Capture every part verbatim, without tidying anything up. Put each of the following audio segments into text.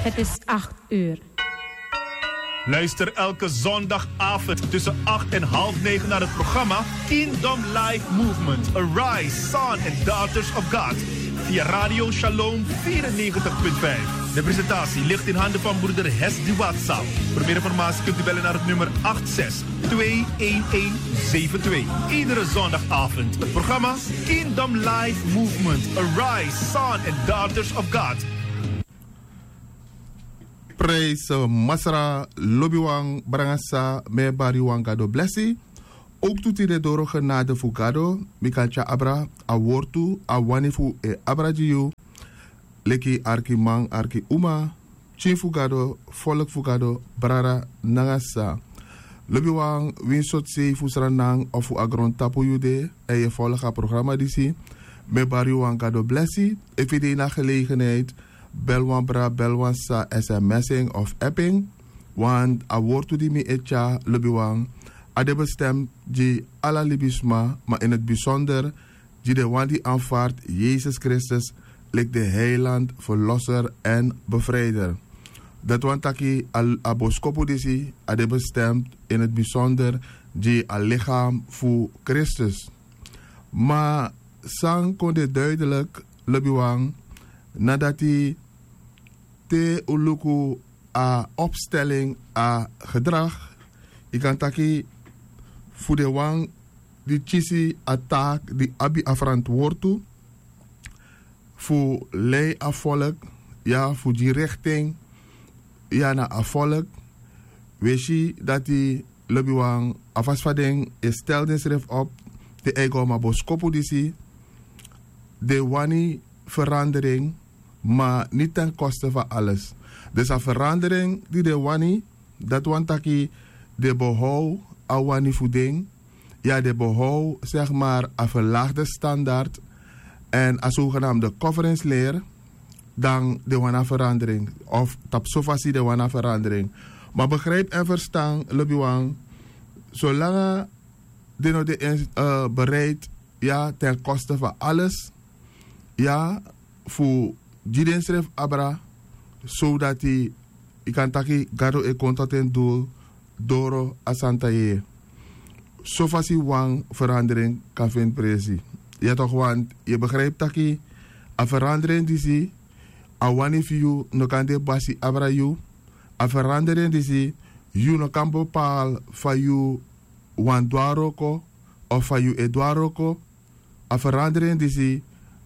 Het is acht uur. Luister elke zondagavond tussen acht en half negen naar het programma Kingdom Life Movement: Arise, Son and Daughters of God via Radio Shalom vierennegentig punt vijf. De presentatie ligt in handen van broeder Hesdy Watsa. Voor meer informatie kunt u bellen naar het nummer acht zes twee een een zeven twee. Iedere zondagavond het programma Kingdom Life Movement: Arise, Son and Daughters of God. Prijs, eh, Masra, lobiwan, brangasa, me bari wan Gado blessi. Ook tu tide doro genade fu Gado, mi kan tya abra a wortu, a wani fu e abra gi yu. Leki arki man, arki uma, pikin fu Gado, volk fu Gado, brada nanga sisa. Lobiwan, winsi sortu sei fu Sranan of fu a grontapu yu de, èn yu e folg a programa disi, mi e bari yu wan Gado blesi. Efu yu de ini a gelegenheid, bel wan bra, bel wan sisa, sms en of app en. Want a wortu di mi e tyari, lobiwan, a de bestem gi ala libisma, ma in het bijzonder gi den wan di aanvaard Yesus Kristus leki den heiland, verlosser en bevrijder. Dati wani taki a, a boskopu disi a de bestem in het bijzonder gi a lichaam fu Kristus. Ma san kon de duidelijk, lobiwan, na dati te un luku a opstelling, a gedrag, yu kan taki fu den wan di kisi a taak, di abi a verantwortu fu lei a volk, ya, fu gi richting, ya, na a volk. Wi e si dati, lobiwan, a fasi fa den e stel densrefi op, den e go na a boskopu disi, den wani verandering, ma niet ten koste van alles. Dus a verandering di den wani, dati wani taki den behoud a wani fu den, ya, den behoud, zeg maar, a verlaagde standaard en a zogenaamde coveringsleer, dan den wani a verandering, of tapu so fasi den wani a verandering. Ma begrijp en verstan, lobiwan, solanga den no de, eh, bereid, ya, ten koste van alles, ya, fu gi densrefi abra, sodati yu kan taki Gado e kon tot en doel doro a santa yeye. So fasi wan verandering kan feni presi. Ya toch, want yu e begrijp taki a verandering disi, a wani fu yu no kan de basi abra yu. A verandering disi, yu no kan bepaal fa yu wani du a wroko of fa yu e du a wroko. A verandering disi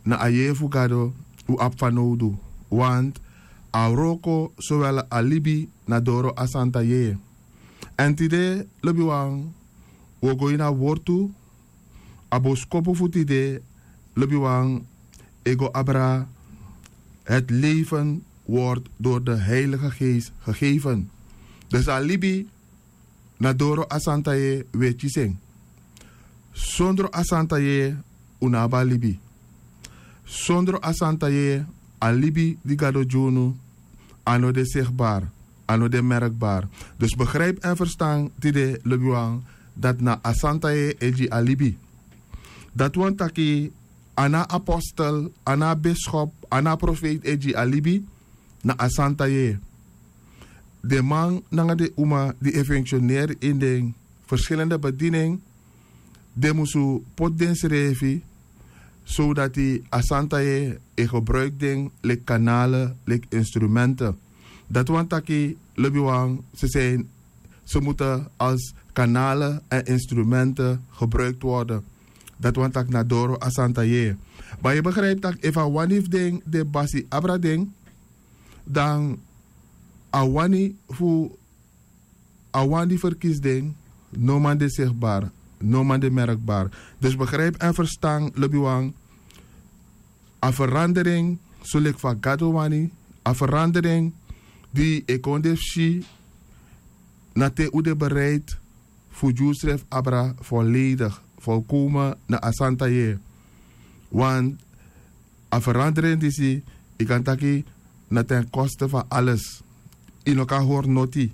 na a yeye fu Gado un abi fanowdu. Want a wroko, sowel a libi, na doro a santa yeye. Èn tide, lobiwan, un o go ini a wortu. A boskopu fu tide, lobiwan, e go abra: het leven wordt door de Heilige Geest gegeven. Dus a libi na doro a santa yeye wi e kisi en. Sondro a santa yeye un no abi a libi. Sondro a santa yeye, a libi di Gado gi unu, a no de sigbaar, a no de merkbaar. Dus begrijp en verstan tide, lobiwan, dati na a santa yeye e gi a libi. Dati wani taki a no a apostel, a no a biskop, a no a profeet e gi a libi, na a santa yeye. Den man nanga den uma di e funksioneri ini den verschillende bediening, den musu poti densrefi, sodati a santa yeye e gebruiki den leki kanalen, leki instrumenten. Dati wani taki, lobiwan, ze zijn, ze moeten als kanalen en instrumenten gebruikt worden. Dati wani taki na doro a santa yeye. Ma yu e begrijp taki efu a wani fu den de basi abra den, dan a wani fu a wan di verkisi den no man de sigbaar, no man de merkbaar. Dus begrijp en verstan, lobiwan, a verandering soleki fa Gado wani, a verandering di e kon de fu si na te un de bereid fu gi unsrefi abra volledig, volkomen na a santa yeye. Want a verandering disi, yu kan taki, na ten koste van alles. Yu no kan hori noti.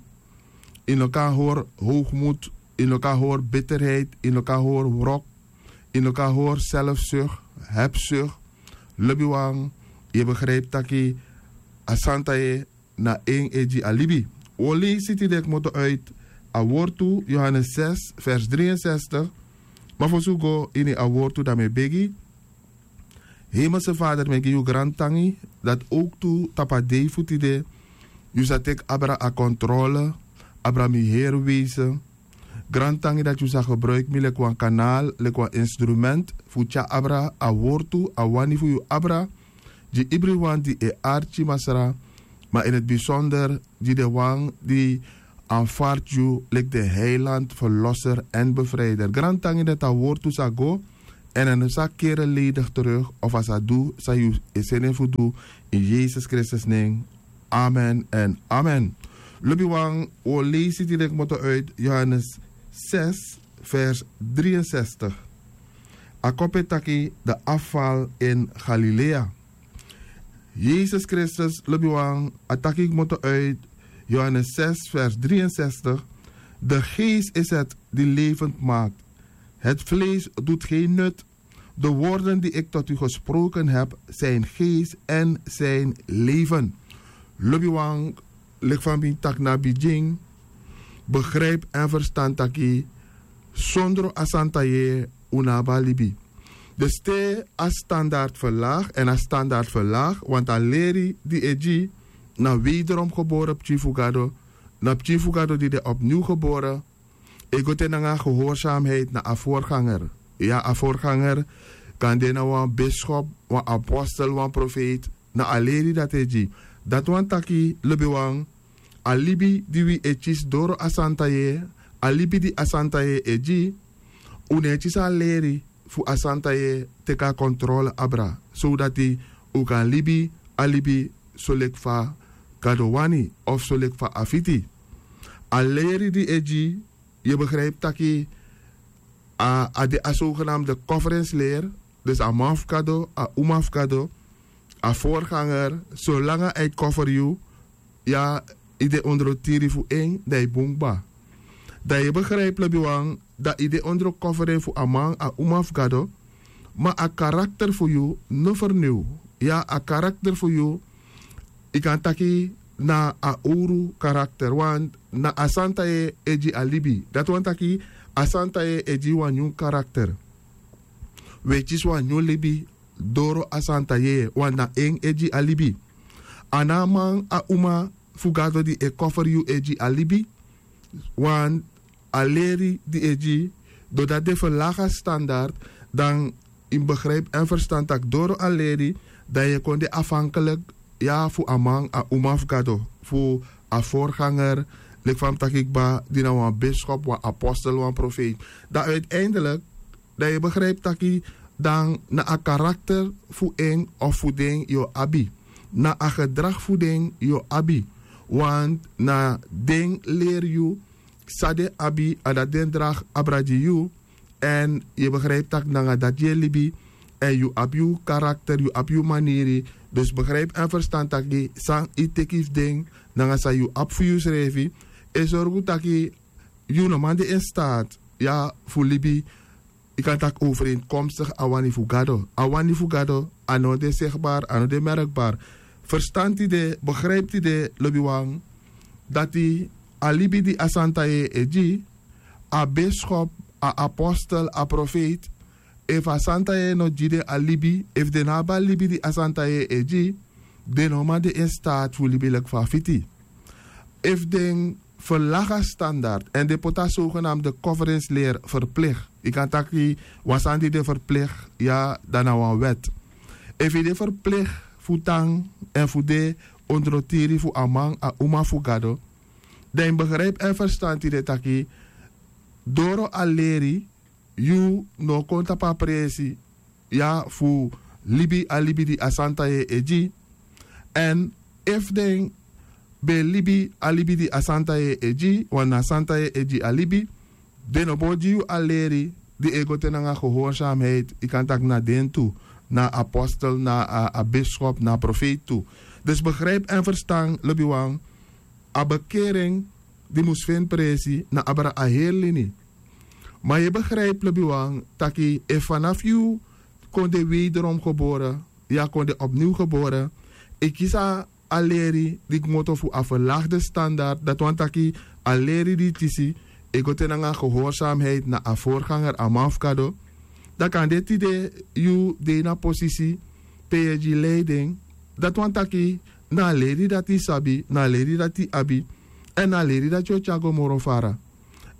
Yu no kan hori hoogmoed. Yu no kan hori bitterheid. Yu no kan hori wrok. Yu no kan hori zelfzucht, hebzucht. Lobiwan, yu e begrijp taki a santa yeye na en e gi a libi. Un o leisi tide kmoto uit a wortu, Johannes zes vers drieënzestig. Ma fosi un go ini a wortu, dan mi e begi. Hemelse Vader, mi e gi yu grantangi dati owktu tapu a dei fu tide yu sa teki abra a kontrole, abra mi heri wezen. Grantangi dati yu sa gebruiki mi leki wan kanaal, leki wan instrument fu tyari abra a wortu, a wani fu yu abra gi ibriwan di e arki, Masra, ma in het bijzonder gi den wan di aanvaard yu leki den heiland, verlosser en bevrijder. Grantangi dati a wortu sa go èn a no sa kere ledigi terug, of a sa du san yu e seni en fu du. In Yesus Kristus nen. Amen en amen. Lobiwan, un o leisi tide kmoto uit Johannes zes vers drieënzestig. A kopu e taki de afval in Galilea. Yesus Kristus, lobiwan, a taki kmoto uit Johannes zes vers drieënzestig: De geest is het die levend maakt. Het vlees doet geen nut. De woorden die ik tot u gesproken heb, zijn geest en zijn leven. Lobiwan, leki fa mi taki na bigin, begrijp en verstan taki sondro a santa yeye un no abi a libi. Dus te a standaard verlaag, en a standaard verlaag, want a leri di e gi na wederom gebore pikin fu Gado, na pikin fu Gado di de opnieuw gebore, e go te nanga gehoorzaamheid na a voorganger. Ya, a voorganger kan de na wan bischop, wan apostel, wan profeet, na a leri dati e gi. Dati wani taki, lobiwan, a libi di wi e kisi doro a santa yeye, a libi di a santa yeye e gi, un no e kisi a leri fu a santa yeye teki a kontrole abra, sodati un kan libi a libi soleki fa Gado wani, of soleki fa a fiti. A leri di e gi, yu e begrijpi taki a, a de a zogenaamde coverensleer. Dus a man fu Gado, a uma fu Gado, a voorganger, solanga a e cover yu, ya, yu de ondro tiri fu en, dan yu bun kba. Dan yu e begrijpi, lobiwan, dan yu de ondro covering fu a man, a uma fu Gado, ma a karakter fu yu no vernieuw. Ya, a karakter fu yu, yu kan taki na a owru karakter, want na a santa yeye e gi a libi. Dati wani taki a santa yeye e gi wan nyun karakter. Wi e kisi wan nyun libi doro a santa yeye, want na en e gi a libi. A no a man, a uma fu Gado di e cover yu e gi a libi, want a leri di e gi, doordat den verlaag a standaard, dan yu mus begrijpi en verstan taki doro a leri, dan yu e kon de afhankelijk, ya, fu a man, a uma fu Gado, fu a voorganger, leki fa mi taki kba, di na wan bischop, wan apostel, wan profeet. Dan uiteindelijk, dan yu e begrijpi taki dan na a karakter fu en of fu den yu o abi. Na a gedrag fu den yu o abi. Want na den leri yu san den abi, a dati den dragi abra gi yu. Èn yu e begrijpi taki nanga dati yu e libi. Èn yu abi yu karakter, yu abi yu maniri. Dus begrijpi en verstan taki san yu teki fu den nanga san yu abi fu yusrefi, e sorgu taki yu no man de in staat, ya, fu libi, yu kan taki overeenkomstig a wani fu Gado. A wani fu Gado, a no de zichtbaar, a no de merkbaar. Verstan tide, begrijpi tide, lobiwan, dati a libi di a santa yeye e gi, a bischop, a apostel, a profeet, efu a santa yeye no gi den a libi, efu den no abi a libi di a santa yeye e gi, den no man de in staat fu libi leki fa a fiti. Efu den verlaag a standaard èn den poti a zogenaamde coverensleer verplicht. Yu kan taki wan sani di de verplicht, ya, dan na wan wet. Efu yu de verplicht fu tan èn fu de ondro tiri fu a man, a uma fu Gado, dan yu mus begrijpi en verstan tide taki doro a leri yu no o kon tapu a presi, ya, fu libi a libi di a santa yeye e gi. Èn efu den ben libi a libi di a santa yeye e gi, want na a santa yeye e gi a libi, den no bo gi yu a leri di e go te nanga gehoorzaamheid, yu kan taki na den tu, na apostel, na a, a bischop, na profeet tu. Dus begrijpi en verstan, lobiwan, a bekering di mus feni presi na abra a heri lini. Ma yu e begrijpi, lobiwan, taki efu fanafu yu kon de wederom gebore, ya, kon de opnieuw gebore, yu kisi a a leri di kmoto fu a ferlagde standard, dati wani taki a leri di yu kisi e go te nanga gehoorsamheid na a vorganger, a man fu gado. Dan kan de tide yu de ini a posisi pe yu e gi lei den. Dati wani taki na a leri dati yu sabi, na a leri dati yu abi, èn na a leri dati yu o tyari go moro fara.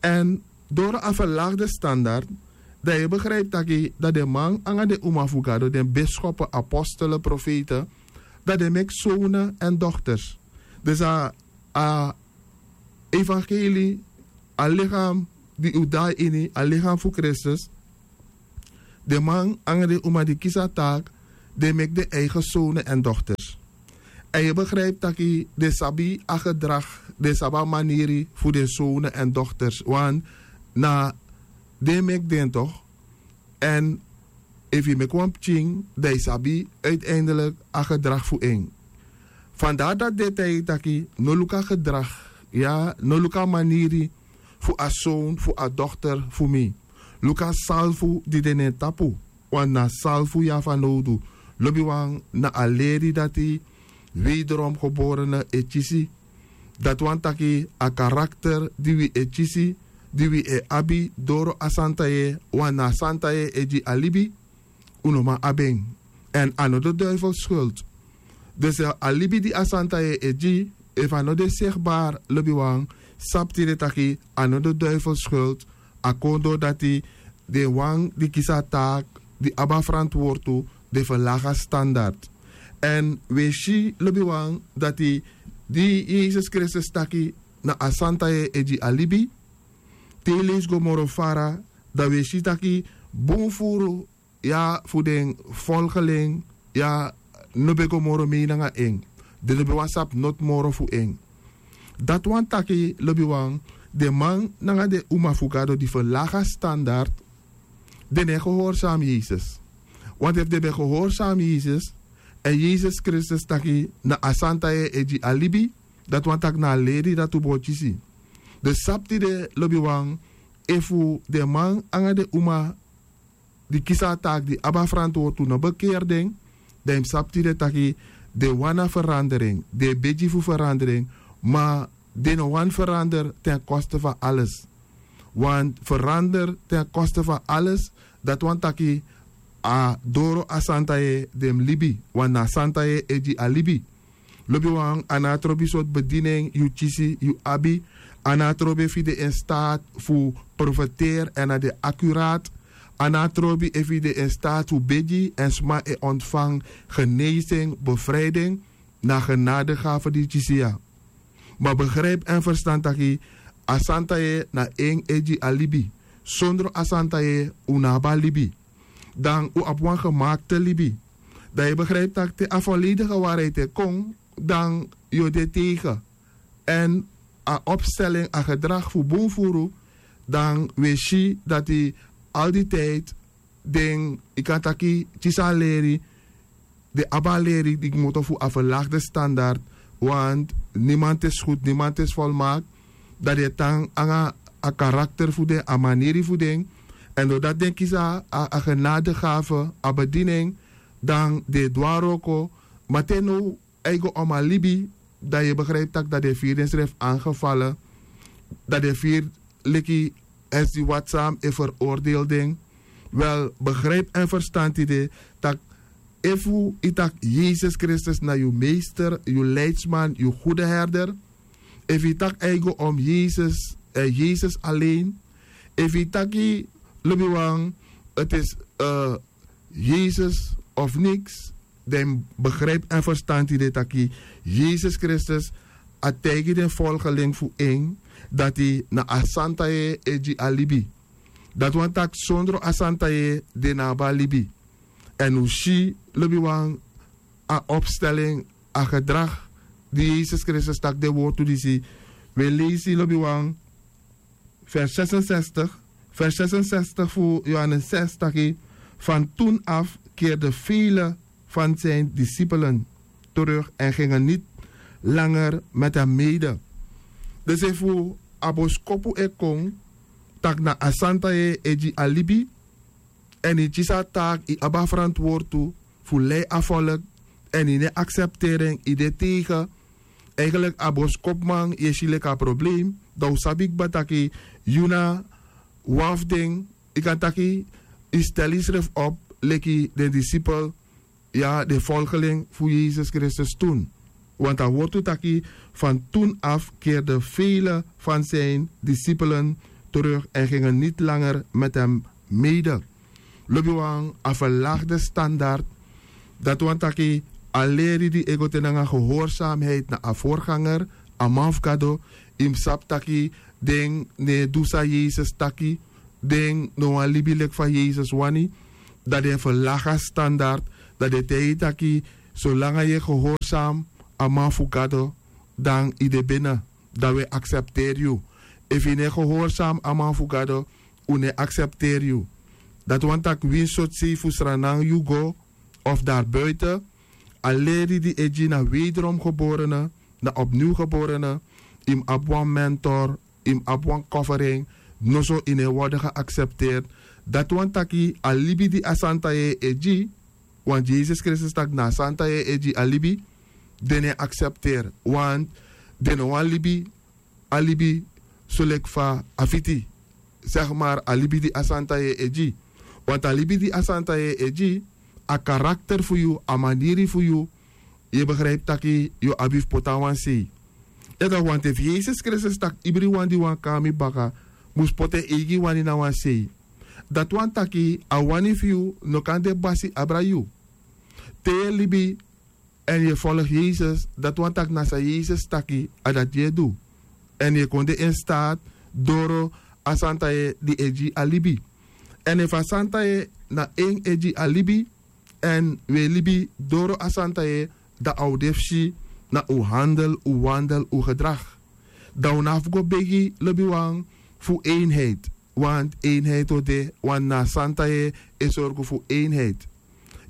Èn doro a ferlagde standard, dan yu e begripi taki dan den man nanga den uma fu gado, den biskopu, apostelen, profeten, dan den meki sownen èn dokters. Dus a a evangelie, a lichaam di un de na ini, a lichaam fu Kristus, den man nanga den uma di kisi a taak, den meki den eigen sownen èn dokters. Èn yu e begripi taki den sabi a gedrag, den sabi a maniri fu den sownen èn dokters, want na den meki den toch. Èn efu yu meki wan pikin, dan yu sabi uiteindelik a gedrag fu en. Vandaar dati den e taigi taki no luku a gedrag, ya, no luku a maniri fu a son, fu a dokter fu mi. Luku a salfu di de na en tapu. Want na a salfu yu abi fanowdu. Lobiwan, na a leri dati wederom geborene e kisi. Dati wani taki a karakter di wi e kisi, di wi e abi doro a santa yeye, want na a santa yeye e gi a libi, un no man abi en. Èn a no de duivel skuld. Dus a libi di a santa yeye e gi, efu a no de sigbaar, lobiwan, sabi tide taki a no de duivel skuld. A kon doro dati den wan di kisi a taak, di abi a ferantwortu, den ferlagi a standard. Èn wi e si, lobiwan, dati di Yesus Kristus taki na a santa yeye e gi a libi, te yu leisi go moro fara, dan wi e si taki bun furu ya fu den folgeling ya no ben go moro mei nanga en. Den no ben wani sabi noti moro fu en. Dati wani taki, lobiwan, den man nanga den uma fu Gado di ferlagi a standard, den no e gehorsami Yesus. Want efu den ben gehorsami Yesus, èn Yesus Kristus taki na a santa yeye e gi a libi, dati wani taki na a leri dati un bo kisi. Den sabi tide, lobiwan, efu den man nanga den uma di kisi a taaki, di abi a ferantwortu, no bekeri den, dan yu mus sabi tide taki den wani a ferandering, den e begi fu ferandering, ma den no wani ferander ten koste fu a alles. Want ferander ten koste fu a alles, dati wani taki a doro a santa yeye den mus libi, want na a santa yeye e gi a libi. Lobiwan, a no a trobi sortu bedinen yu kisi, yu abi. A no a trobi efu yu de in staat fu profeteri èn a de akuraat. A no a trobi efu yu de in staat fu begi èn sma e ontfangi genezing, bevrijding, na genadegave di yu kisi ya. Ma begrijp èn ferstan taki a santa yeye na en e gi a libi. Sondro a santa yeye un no abi a libi. Dan un abi wan gemaakte libi. Dan yu begrijp taki te a volledige waarheid e kon, dan yu o de tegen. Èn a opstelling, a gedrag fu bun furu, dan wi e si dati al di tijd den, yu kan taki, kisi a leri, den abi a leri di kmoto fu a verlaagde standard, want niemand is goed, niemand is volmaakt. Dan den e tan nanga a karakter fu den, a maniri fu den. Èn doordat den kisi a, a genadegave, a bediening, dan den e du a wroko. Ma te now a e go om a libi, dan yu e begrijp taki dan den e firi densrefi aangefalen, dan den e firi leki esi di wati san e veroordeel den. Wel, begrijp èn ferstan tide taki efu yu taki Yesus Kristus na yu meester, yu leidsman, yu goede herder. Efu yu taki a e go om Yesus, eh, Yesus alleen. Efu yu taki, lobiwan, het is, eh, Yesus of niks, dan yu mus begrijp èn ferstan tide taki Yesus Kristus a taigi den volgeling fu en dati na a santa yeye e gi a libi. Dati wani taki sondro a santa yeye den no abi a libi. Èn un si, lobiwan, a opstelling, a gedrag di Yesus Kristus taki den wortu disi. Wi e leisi, lobiwan, vers zesenzestig, vers zesenzestig fu Johannes zes taki: Van toen af keerden vele van zijn discipelen terug en gingen niet langer met hem mede. Dus efu a boskopu e kon taki na a santa yeye e gi a libi, èn yu kisi a taaki, yu abi a ferantwortu fu lei a volk, èn yu no e aksepteri en, yu de tegen. Eigenlik a boskopuman yu e si leki a probleem, dan un sabi kba taki yu na wan fu den. Yu kan taki yu stel yusrefi op leki den disipel, ya den folgeling fu yesus kristus tun. Want a wortu taki, van tun afu keerde vele van zijn disipelen terug en gingen niti langer met hem mede. Lobiwan, a verlagde standard, dati wani taki a leri di e go te nanga gehoorsamheid na a vorganger, a man fu gado. Yu mus sabi taki den no e du san yesus taki. Den no wani libi leki fa yesus wani. Dan den e verlagi a standard. Dan den e taigi yu taki, solanga yu e gehoorsam a man fu gado, dan yu de bene. Dan wi e aksepteri yu. Efu yu no e gehoorsam a man fu gado, un no e aksepteri yu. Dati wani taki winsi sortu sei fu sranan yu go, of dari buiten, a leri di e gi na wederom geborene, na opniw geborene. Yu mus abi wan mentor, yu mus abi wan covering. Noso yu no e worden geaksepteerd. Dati wani taki a libi di a santa yeye e gi, want yesus kristus taki na a santa yeye e gi a libi. Den no e aksepteri, want den no wani libi a libi soleki fa a fiti. Segi mari a libi di a santa yeye e gi. Want a libi di a santa yeye e gi, a karakter fu yu, a maniri fu yu, yu e begripi taki yu o abi fu poti na wan sei. Yu e taki, want efu yesus kristus taki ibriwan di wani kon na mi baka mus poti en eigi wani na wan sei, dati wani taki a wani fu yu no kan de basi abra yu. Te yu e libi èn yu e folgu yesus, dati wani taki na san yesus taki, a dati yu e du. Èn yu e kon de en staat doro a santa yeye di e gi a libi. Èn efu a santa yeye na en e gi a libi, èn wi e libi doro a santa yeye, dan a o de fu si na un handel, un wandel, un gedrag. Dan un no abi fu go begi lobiwan fu eenheid. Want eenheid o de, want na a santa yeye e sorgu fu eenheid.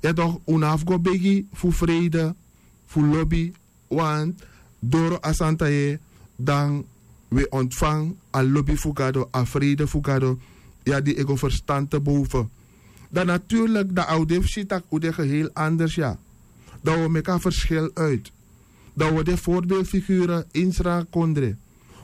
Ya tok, un no abi fu go begi fu freide, fu lobi. Want doro a santa yeye, dan wi e ontfangi a lobi fu gado, a freide fu gado. Ya di e go ferstan te boven. Dan natuurlik dan a o de fu si tak' un de geheel anders ya. Dan wi o meki a ferskil uit. Dan wi o de voorbeeldfigure ini srana kondre.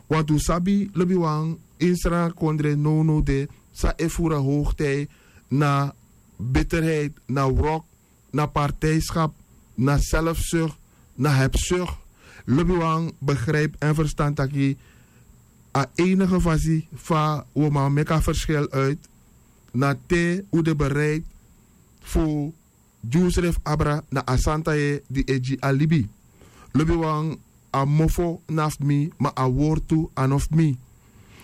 Want un sabi lobiwan, ini srana kondre nownow de san e furu a hoogtij na bitterheid, na wrok, na partijskap, na selfzucht, na hebzucht. Lobiwan, begrijp èn ferstan taki a enige fasi fa wi o man meki a ferskil uit, na te un de bereid fu gi unsrefi abra na a santa yeye di e gi a libi. Lobiwan, a mofo na fu mi, ma a wortu a no fu mi.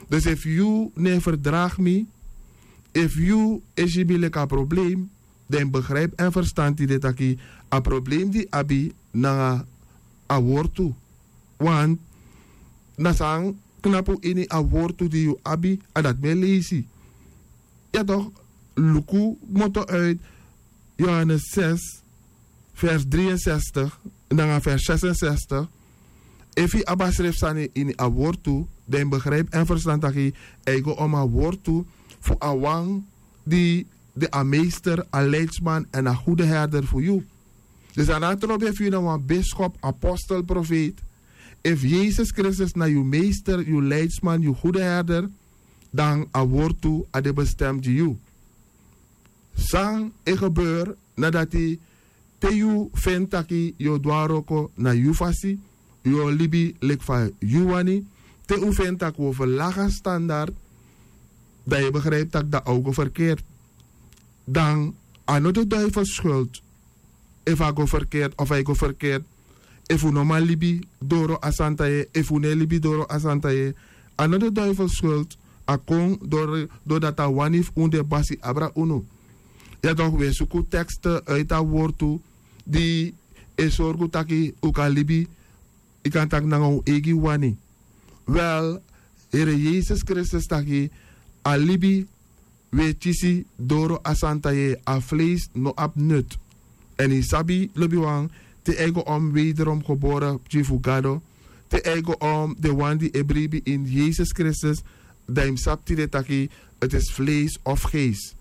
Dus efu yu no e ferdragi mi, efu yu e si mi leki a probleem, dan yu mus begripi èn ferstan tide taki a probleem di yu abi nanga a wortu. Want na san knapu ini a wortu di yu abi, a dati mi e leisi. Ya tok, luku kmoto uit Johannes zes, vers drieënzestig nanga vers zesenzestig. Efu yu abi a srefi sani ini a wortu, dan yu mus begripi èn ferstan taki a e go om a wortu fu a wan di de a meester, a leidsman èn a goede herder fu yu. Dus a no abi trobi efu yu na wan biskop, apostel, profeet. Efu yesus kristus na yu meester, yu leidsman, yu goede herder, dan a wortu a de bestem gi yu. San e gebeur na dati, te yu feni taki yu o du a wroko na yu fasi, yu o libi leki fa yu wani, te un feni taki un o ferlagi a standard, dan yu e begripi taki dan a o go ferkeerd. Dan a no de duivel skuld efu a go ferkeerd of a e go ferkeerd. Efu un no man libi doro a santa yeye, efu un no e libi doro a santa yeye, a no de duivel skuld. A kon dori dati a wani fu un de basi abra unu. Ya tok, wi e suku teksten uiti a wortu di e sorgu taki un kan libi, yu kan taki nanga un eigi wani. Wel, Here yesus kristus taki a libi wi e kisi doro a santa yeye, a fleisi no abi nut. Èn yu sabi lobiwan, te a e go om wederom gebore pikin fu gado, te a e go om den wan di e bribi ini yesus kristus, dan yu mus sabi tide taki, ti isi fleisi of geesi.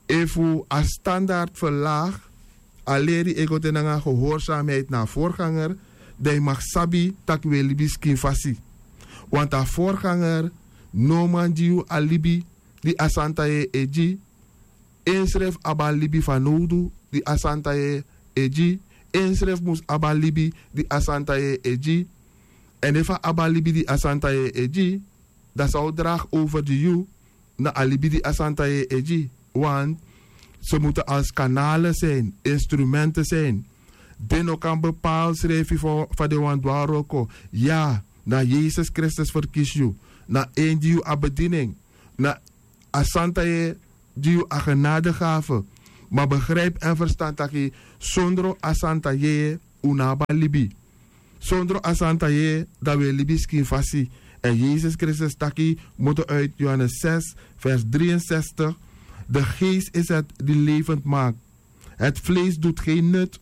Efu a standard ferlagi, a leri e go de nanga gehoorsamheid na a vorganger, dan yu mag sabi tak' wi e libi skin fasi. Want a vorganger no man gi yu a libi di a santa yeye e gi. Ensrefi abi a libi fanowdu di a santa yeye e gi. Ensrefi mus abi a libi di a santa yeye e gi. Èn efu a abi a libi di a santa yeye e gi, dan san o dragi over gi yu na a libi di a santa yeye e gi. Want se mutu als kanale sin, instrumente sin. Den no kan bepaal srefi fa den wani du a wroko. Ya, na yesus kristus ferkisi yu. Na en gi yu a bedini en. Na a santa yeye gi yu a genade gafe. Ma begripi èn ferstan taki sondro a santa yeye un no abi a libi. Sondro a santa yeye dan wi e libi skin fasi. Èn yesus kristus taki moto uit johannes zes vers drie en zestig: de geest is het die levend maakt. Het vlees doet geen nut